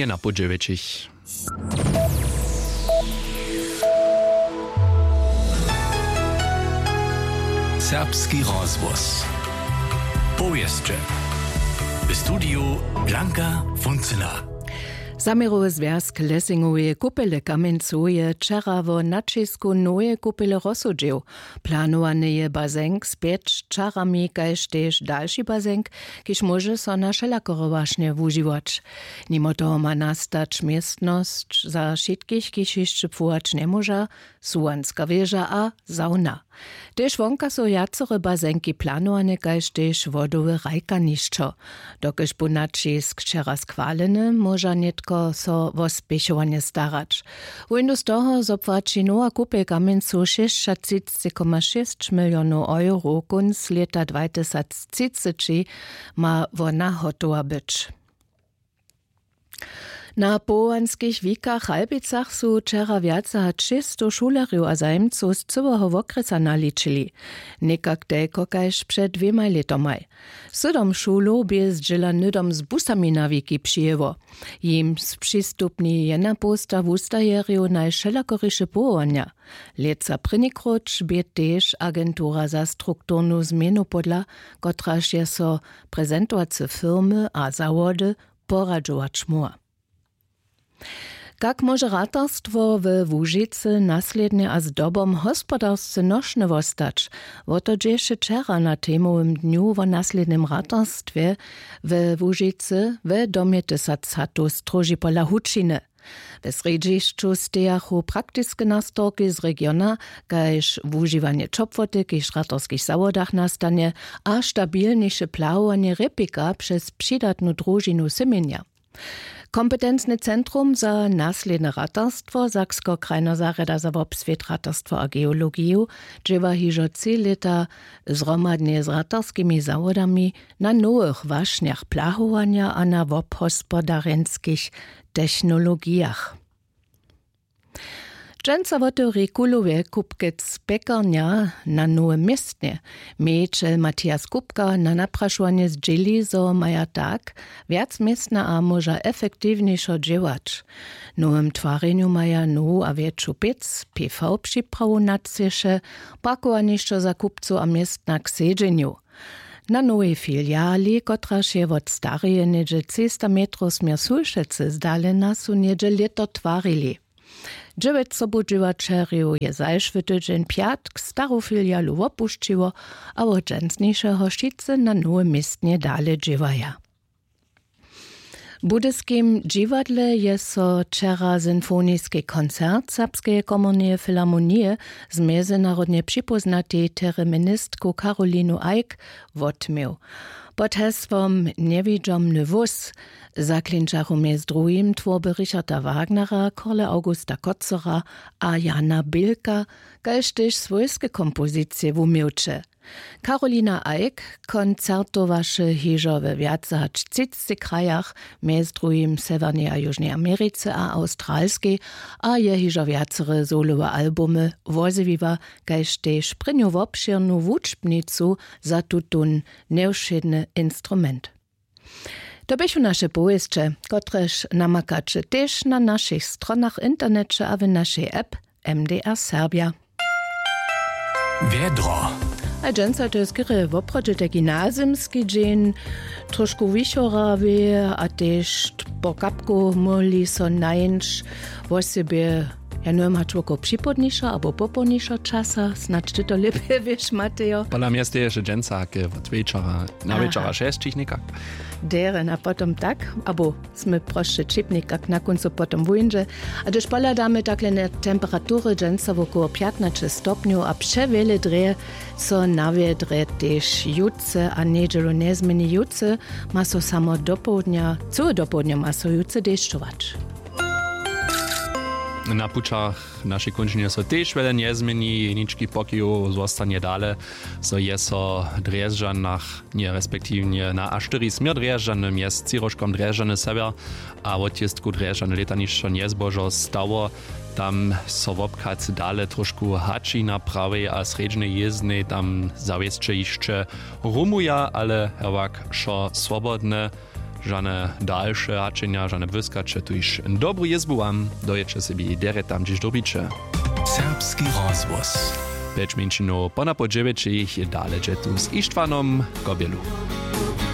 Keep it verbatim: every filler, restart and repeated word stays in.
Jena po dźewjećich. Serbski rozhłos. Powěsće. W studiju Blanka Funcyna. Zaměrowy zwjazk Lesingoweje kupele Kamjencow je wčera wo naćisku noweje kupele rozsudźił. Planowany je bazenk z pjeć čarami kaž tež dalši bazenk, kiž móže so na wšelakore wašnje wužiwać. Nimo toho ma nastać městnosć za wšitkich, kiž hišće płować njemóža, suwanska wěža a sauna. Tež wonka su wjacore bazenki planowane kaž tež wodowe hrajkanišćo. Dokelž bu naćisk wčera schwaleny, móža nětko so wo spěchowanje starać. Wójnu z toho zo płaći nowa kupel kamjencow šěsćatřicci koma šěsć milionow euro kónc lěta dwatysactřiceći ma wona hotowa być. Na powołanskich wikach w Halbicach su wčera wjace hač šěsćstow šulerjow a zajimcow z cyłeho wokrjesa naličili. Někak telko kaž před dwěmaj lětomaj. Sydom šulow bě zdźěla hnydom z busami na wiki přijěło. Jim spřistupni jenapołsta wustajerjow najwšelakoriše powołanja. Lětsa prěnikróć bě tež agentura za strukturnu změnu podla, kotraž je so prezentowace firmy a zawody poradźować móhła. Kak móže ratarstwo we Łužicy naslědnje a zdobom hospodarsce nošne wostać? Wo to dźěše wčera na temowym dnju wo naslědnym ratarstwje we Łužicy we domje tysac hatow stróži pola hučiny. We srjedźišću stejachu praktiske nastorki z regiona, kaž wužiwanje ćopłoty kiž w ratarskich zawodach nastanje, a stabilniše plahowanje rěpika přez přidatnu družinu symjenja. Kompetencny centrum za naslědne ratarstwo sakskeho krajneho zarjada za wobswět ratarstwo a geologiju dźěła hižo tři lěta zhromadnje z ratarskimi zawodami na nowych wašnjach plahowanja a na wobhospodarjenskich technologijach. Dźensa wotewri kulowje kupkec pjekarnja na nowym městnje. Mějićel Matthias Kupka na naprašowanje zdźěli, zo maja tak wjac městna a móža efektiwnišo dźěłać. W nowym twarjenju maja nowu a wjetšu pěc, pv připrawu na třěše, parkowanišćo za kupcow a městna k sedźenju. Na nowej filiali, kotraž je wot stareje něhdźe třista metrow směr sulšecy zdalena, su něhdźe lěto twarili. Dźewjeć sobudźěłaćerjow je zašły tydźeń pjatk staru filialu wopušćiło, a wot dźensnišeho wšitcy na nowym městnje dale dźěłaja. W budyskim dźiwadle je so wčera symfoniski koncert serbskeje komorneje filharmonije z mjezynarodnje připóznatej tereministku Karolinu Eick wotměł. Pod hesłom Njewidźomny wós zaklinčachu mjez druhim twórby Richarda Wagnera, Korle Augusta Kotzera a Jana Bilka, kaž tež swójske kompozicije wuměłće. Karolina Eick koncertowaše hižo we wjace hač třicci krajach, mjez druhim w Sewjernej a Južnej Americe a Awstralskej, a je hižo wjacore solowe albumy wozjewiła, kaž tež prěnju wobšěrnu wučbnicu za tutón njewšědny instrument. To běchu naše powěsće, kotrež namakaće tež na našich stronach w interneće a w našej app M D R Serbja. Wjedro. A dźensa to je skerje woprawdźe taki nazymski dźeń, trošku wichorawy a tež po kapku móhli so najńć wosebje, ja njewěm, hač wokoło připołdniša abo popołdniša časa, snadź ty to lěpje wěš, Matejo. Pola mje steješe dźensa ke wot wječora, na wječora šesćich někak. Derje, a potom tak, abo smy prosće ćipnik, kak na kóncu potom wóńdźe. A hdyž pohladamy takle na temperatury, dźensa wokoło pjatnaće stopnjow a přewjele drje so na wjedrje tež jutře a njedźelu njezměni. Jutře ma so samo dopołdnja, cyłe dopołdnje ma so jutře dešćować. Na pućach w našej kónčinje so tež wjele njezměni, jenički pokijow zostanje dale, zo je so w Drježdźanach, nje respektiwnje na A štyri směr Drježdźany mjez třiróžkom Drježdźany sewjer a wotjěstku Drježdźany lětanišćo njezbožo stało. Tam so wobchad dale trošku hači na prawej a srjedźnej jězdnej, tam zawěsće hišće rumuja, ale hewak wšo swobodne. Žane dalše hačenja, žane błyskaće, tuž dobru jězbu wam, dojeće sebi derje tam hdźež dyrbiće. Serbski rozhłos. Pjeć mjeńšinow ponapoł dźewjećich dale dźe tu z Ištwanom Kobjelu.